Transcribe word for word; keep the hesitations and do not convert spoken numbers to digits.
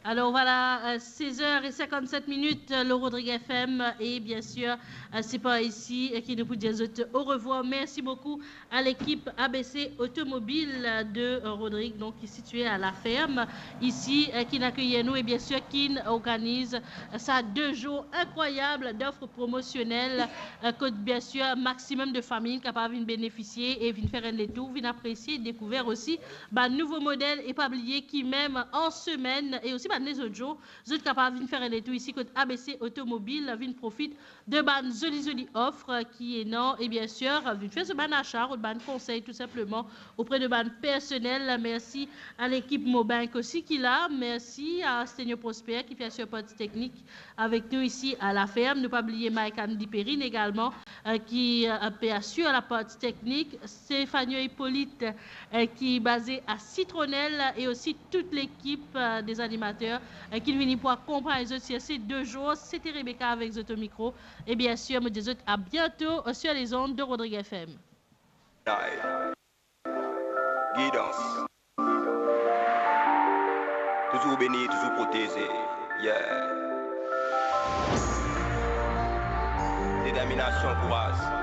Alors voilà, euh, seize heures et cinquante-sept minutes, euh, le Rodrigue F M, et bien sûr, euh, c'est par ici, euh, que nous pouvons dire au revoir. Merci beaucoup à l'équipe A B C Automobile, euh, de, euh, Rodrigue, donc qui est située à La Ferme, ici, euh, qui accueille nous et bien sûr qui organise, euh, ça deux jours incroyables d'offres promotionnelles, euh, que bien sûr maximum de familles capables de bénéficier et venir faire un tour, venir apprécier et découvrir aussi bann nouvo model e pa bliye ki mem an semenn e osi bann lezot zour, zot kapav vinn fer enn letour isi kot A B C Automobile, vinn profit de bann zoli zoli ofer ki ena, e bien sir, vinn fer zot bann asa, zot bann konsey tou sinpleman opre de bann personel. Mersi a lekip Mobank osi ki la, mersi a Stenio Prosper ki fer asir parti teknik avek nou isi a La Ferme. Nou pa bliye Mike Andy Perrine egalman, euh, ki, euh, pe asir laparti teknik, Stéphanie Hippolyte, euh, ki baze a Citronelle, e osi tout lekip, euh, de zanimater, euh, ki vini pou akonpagn zot sir se de zour. Sete Rebecca avek zot o mikro. E bien sir, mo dir zot a biento, euh, sir lezond de Rodrigue F M. Gidans. Touzour beni, touzour proteze. Yeah. Determinasion, kouraz.